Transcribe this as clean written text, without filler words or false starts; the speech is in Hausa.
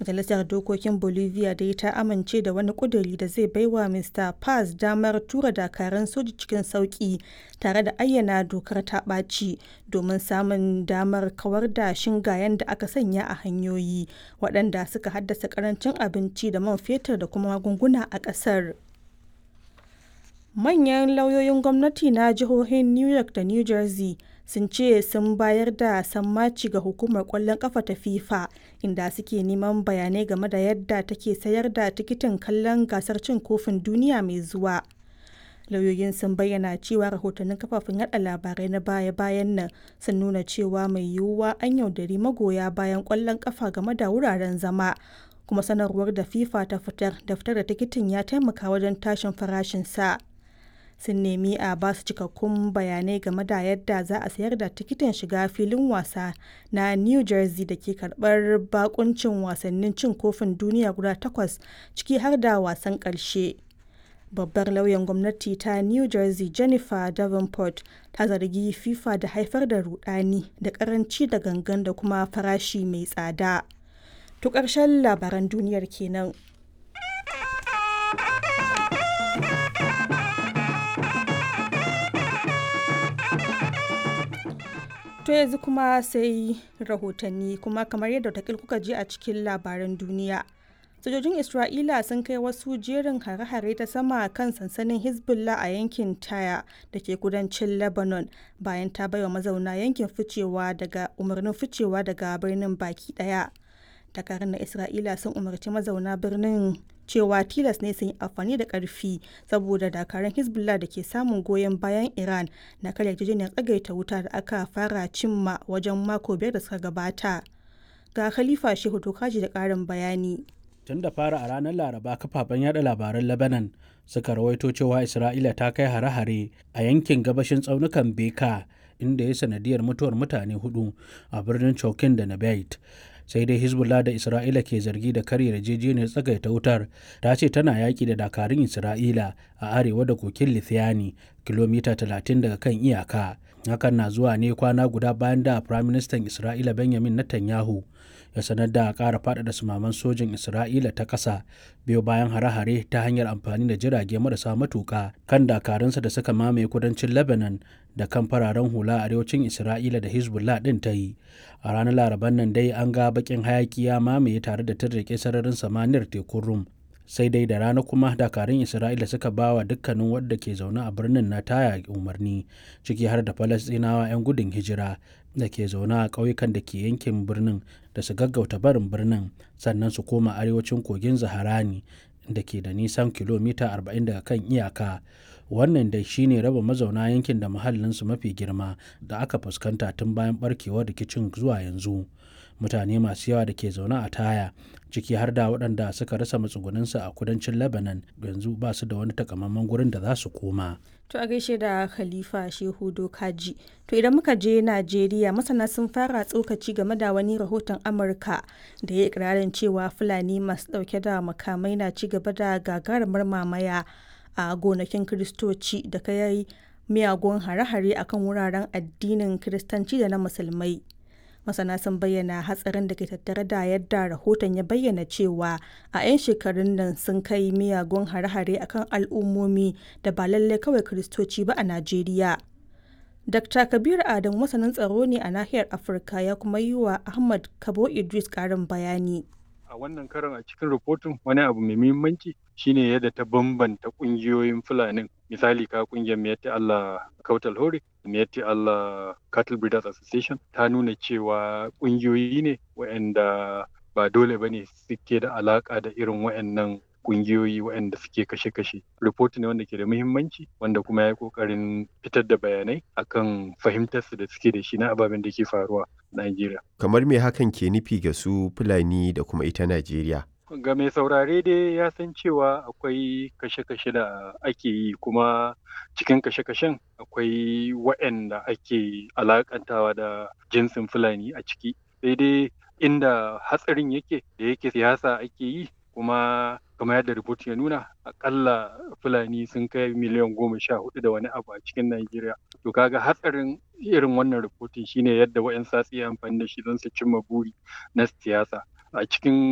Majalisar Dokokin Bolivia dai ta amince da wani ƙuduri da zai baiwa Mr. Paz damar tura dakarun soji cikin sauƙi tare da ayyana dokar ta ɓaci domin samun damar kawar da shingayen da aka sanya a hanyoyi, waɗanda suka haddasa ƙarancin abinci da man fetur da kuma magunguna a ƙasar. Manyan lauyoyin gwamnati na jihohin New York da New Jersey sun ce sun bayar da sammaci ga hukumar kwallon kafa ta FIFA, inda suke neman bayanai game da yadda take sayar da tikitin kallon gasar cin kofin duniya mai zuwa. Lauyoyin sun bayyana cewa rahotannin kafafen yada labarai na baya-bayan nan sun nuna cewa mai yiwuwa an yaudari magoya bayan kwallon kafa game da wuraren zama, kuma sanarwar da FIFA ta fitar da fitar da tikitin ya taimaka wajen tashin farashinsa. Sun nemi a ba su cikakkun bayanai game da yadda za a sayar da tikitin shiga filin wasa na New Jersey da ke karbar bakuncin wasannin cin kofin duniya guda takwas, ciki har da wasan ƙarshe. Babbar lauyan gwamnati ta New Jersey, Jennifer Davenport, ta zargi FIFA da haifar da rudani da karanci da gangan da kuma farashi mai tsada. To, ƙarshen labaran duniyar kenan. To, yanzu kuma sai rahotanni. Kuma kamar yadda watakil kuka ji a cikin labaran duniya, sojojin Isra'ila sun kai wasu jerin hare-hare ta sama kan sansanin Hezbollah a yankin Taya da ke kudancin Lebanon, bayan ta baiwa mazauna yankin ficewa daga umarnin ficewa daga birnin baki daya. Dakarun na Isra'ila sun umarci mazauna birnin cewa tilas ne sun yi amfani da karfi saboda dakarun Hezbollah da ke samun goyon bayan Iran na karya yarjejeniyar tsagaita wuta da aka fara cimma wajen mako 5 da suka gabata. Ga Khalifa Shehu Tokaji da karin bayani. Tun da fara a ranar Laraba, kafafen yada labaran Lebanon suka rawaito cewa Isra'ila ta kai hare-hare a yankin gabashin tsaunukan Beka, inda ya sanadiyar mutuwar mutane hudu a birnin Chokin da Nabait. Sai dai Hezbollah, da Isra'ila ke zargi da karya yarjejeniyar tsagaita wutar, ta ce tana yaƙi da dakarun Isra'ila a arewa da kokin Lithiani, kilomita 30 daga kan iyaka. Hakan na zuwa ne kwana guda bayan da Firaministan Isra'ila Benjamin Netanyahu ya sanar da ƙara faɗaɗa sumaman sojin Isra'ila ta ƙasa, biyo bayan hare-hare ta hanyar amfani da jirage marasa matuƙa kan dakarunsa da suka mamaye kudancin Lebanon da kan fararen hula a arewacin Isra'ila da Hezbollah ɗin ta yi. A ranar Laraban nan dai an ga baƙin hayaki ya mamaye tare da tirrike sararin samaniyar tekun Rum. Sai dai da rana kuma dakarun Isra'ila suka ba wa dukkanin wadda ke zaune a birnin na Taya umarni, ciki har da Falastinawa 'yan gudun hijira da ke zaune a ƙauyukan da ke yankin birnin, da su gaggauta barin birnin sannan su koma arewacin kogin Zaharani da ke da nisan kilomita 40 daga kan iyaka. Wannan dai shine raba mazauna yankin da muhallinsu mafi girma da aka fuskanta tun bayan barkewar rikicin zuwa yanzu. Mutane masu yawa da ke zaune a Taya, ciki har da waɗanda suka rasa matsugunansu a kudancin Lebanon, yanzu ba su da wani takamaiman gurin da za su koma. To, a gaishe da Khalifa Shehu Dokaji. To, idan muka je Najeriya, masana sun fara tsokaci game da wani rahoton Amurka da ya ikirarin cewa Fulani masu ɗauke da makamai na ci gaba da gagarumar mamaya a gonakin Kiristoci da kai miyagun hare-hare akan wuraren addinin Kiristanci da na Musulmai. Masana sun bayyana hatsarin da ke tattare da yadda rahoton ya bayyana cewa a 'yan shekarun nan sun kai miyagun hare-hare akan al'ummomi da ba lallai kawai Kiristoci ba a Najeriya. Dr. Kabir Adam masanin tsaro ne a nahiyar Afirka, ya kuma yi wa Ahmad Kabo Idris karin bayani. A wannan karon, a cikin rahoton, wani abu mai muhimmanci shine yadda ta bambanta kungiyoyin Fulanin. Misali, ka kungiyar Miyatti Allah Kautal Hore, Miyatti Allah Cattle Breeders Association, ta nuna cewa kungiyoyi ne waɗanda ba dole bane suke da alaka da irin waɗannan kungiyoyi waɗanda suke kashe-kashe. Report ne wanda ke da muhimmanci, wanda kuma ya yi ƙoƙarin fitar da bayanai akan fahimtarsu da suke da shi na ababen da ke faruwa a Najeriya. Kamar me hakan ke nufi ga su Fulani da kuma ita Najeriya? Ga mai saurare dai ya san cewa akwai kashe-kashe da ake yi, kuma cikin kashe-kashen akwai waɗanda ake alakantawa da jinsin Fulani a ciki. Sai dai inda hatsarin yake, da yake siyasa ake yi, kuma kamar yadda report ya nuna, akalla Fulani sun kai miliyan 14 da wani abu a cikin Najeriya. To, kaga hatsarin irin wannan rahoton shine yadda wa'yansu za su iya amfani da shi don su cimma buri na siyasa a cikin